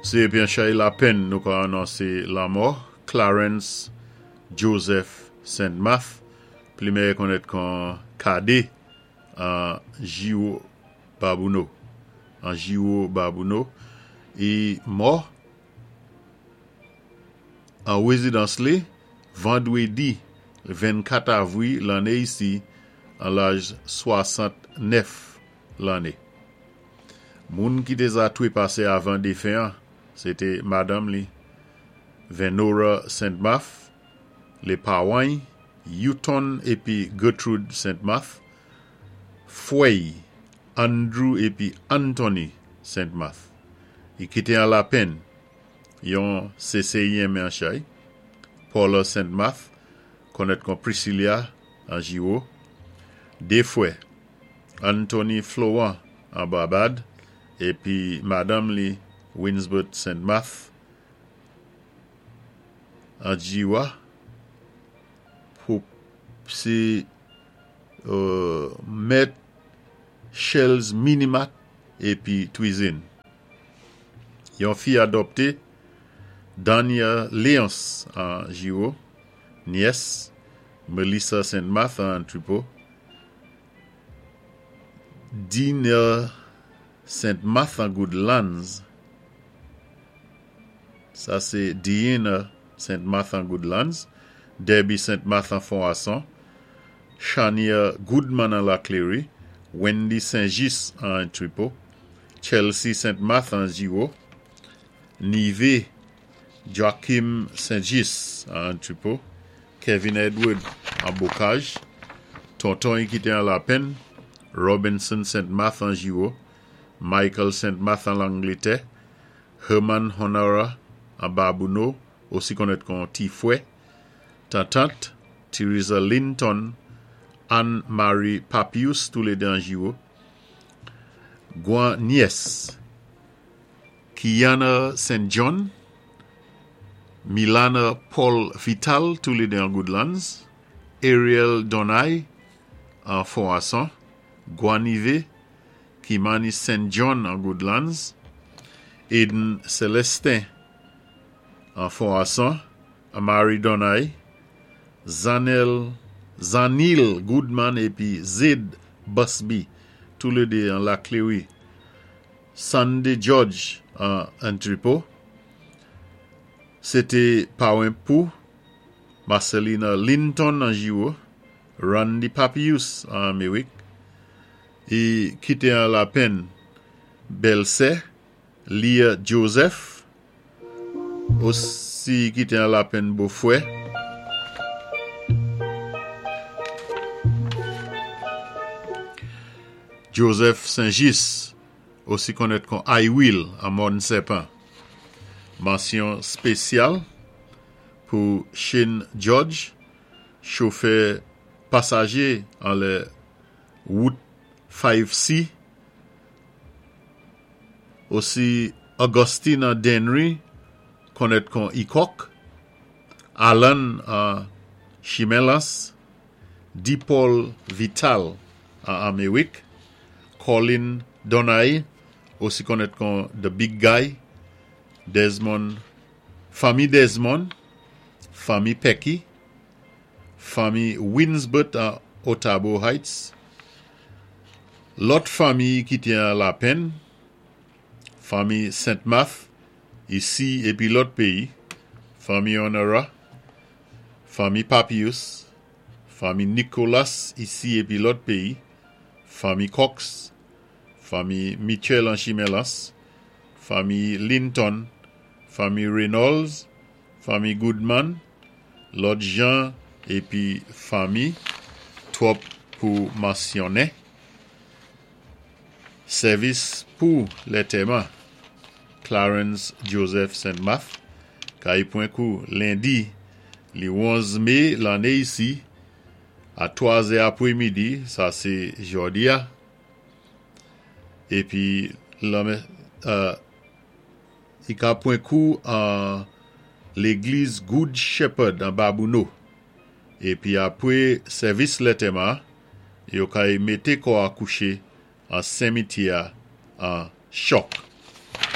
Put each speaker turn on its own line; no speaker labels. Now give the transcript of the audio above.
Sé épi an chay lapenn nou ka anonsé lanmò Clarens Joseph Saint-Math, pli mèyè konnèt kon Kadé an Jiwo Babouno, an Jiwo Babouno, i mò an wézidans li vandwédi 24 avwi lanné isi an laj 69 lanné. Moun ki té za twépasé avan défen an, sé té madanm li, Venora Saint-Math, lé pawan-y, Youton épi Gertrude Saint-Math, fwè-y, Andrew épi Anthony Saint-Math. I kité an lapenn yon séséyen men an chay, Paula Saint-Math, konnèt kon Priscilla an Jiwo, dé fwè, Anthony Florent an Barbad épi madanm li Winsbert Saint-Math an Jiwa pou sé mèt Shell's Minimat épi Twizin. Yon fi adòpté, Dania Léonce an Jiwo, nyès, Melissa Saint-Math an Antrepo, Dina Saint-Math an Goodlands, sa sé Diina Saint-Math an Goodlands, Debbie Saint-Math an Fonwason, Shania Goodman an Laclery, Wendy Saint-Just an Antrepo, Chelsea Saint-Math an Jiwo, Nive Joachim Saint-Just an Antrepo, Kevin Edward an Bocage, tonton-y ki té an Lapenn, Robinson Saint-Math an Jiwo, Michael Saint-Math an Langlétè, Herman Honora an Babouno, osi konnèt kon Ti Fwè, tantant, Theresa Linton, Anne Marie Papius, toulédé an Jiwo, gwan nyès, Kiana Saint John, Milana Paul Vital, toulédé an Goodlands, Ariel Donay an Fonwason, Guanive, Kimani Saint John an Goodlands, Eden Celestin an Fonwason, Amari Donay, Zanel Zanil Goodman épi Zed Busby, toulédé an Laclery, Sunday George an Antrepo. Sé té pawen pou Marcelina Linton an Jiwo, Randy Papius an Améwik, i kité an lapenn bèlsè Leah Joseph, osi kité an lapenn bofwè. Joseph Saint-Just, osi konnèt kon I Will an Mòn Sèpan. Mansyon spésyal pou Shane George, chofè pasajé anlè wout 5C, osi Augustine an Dennery, konnèt kon Ikòk, Alan an Chimen Lans, D. Paul Vital an Améwik, Colin Donay, osi konnèt kon The Big Guy, Desmond, fanmi Desmond, fanmi Pecky, fanmi Winsbert an Otabo Heights, lòt fanmi ki té an lapenn, fanmi Saint-Math, isi épi lòt péyi, fanmi Honora, fanmi Papius, fanmi Nicolas isi épi lòt péyi, fanmi Cox, fanmi Mitchell an Chimen Lans, fanmi Linton, fanmi Reynolds, fanmi Goodman, lòt jan épi fanmi, twòp pou mansyonnen. Sèvis pou lètèman Clarens Joseph Saint-Math kay pwen kou lendi li 11 mé lanné isi a 3 zè apwémidi, sa sé jòdi a, épi lanmè li ka pwen kou an légliz Good Shepherd an Babouno, épi apwé sèvis lètèman yo kay mété kò a kouché an senmityè a an Chòk.